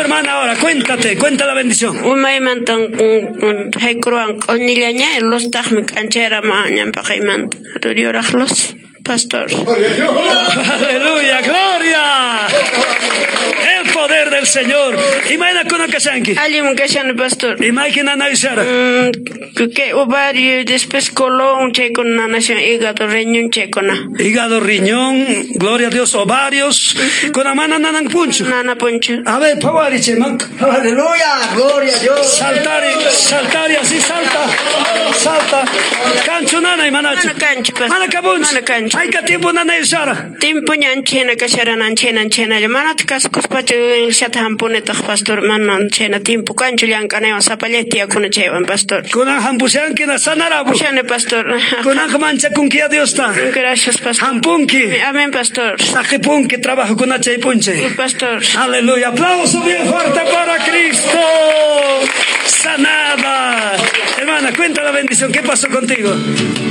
hermana, ahora? Cuéntate, cuenta la bendición. Umaymantan haykuruwan q'uñillaña, luztaqmi k'anchayramuwan ñanpaqaymanta. Yuraq luz, pastor. Aleluya, gloria. El poder del Señor. Imayna kunan kashanki? Allin kashani, pastor. Imayki nanayshara? Kay ovario, después colon, chaykuna nanashan, hígado, riñón, chaykuna. Hígado, riñón, gloria a Dios, ovarios. Kunan mana nananpunchu. Nanapunchu. A ver, phawari chayman. Aleluya, gloria a Dios. Saltari, saltari, así salta. Salta. Kanchu nanay manachu? Mana kanchu, pastor. Mana kapunchu. Mana kanchu. Hayka tiempo nanayshara? Timpu ñan chhayna kasharan, anchayna chhaynalla. Manataq kasukuspachu iglesiata hampunitaq, pastor. Mana chhayna timpu kanchu llank'anaywan, sapallay tiyakuna chaywan, pastor. Kunan hampushanki na sanarapu. Pushani, pastor. Kunanqa manchakunki a Diosta. Gracias, pastor. Hampunki. Amén, pastor. Saqipunki trabajokuna chay p'unchay. Pastor. Aleluya. Aplauso bien fuerte para Cristo. Sanada. Hermana, cuenta la bendición. ¿Qué pasó contigo?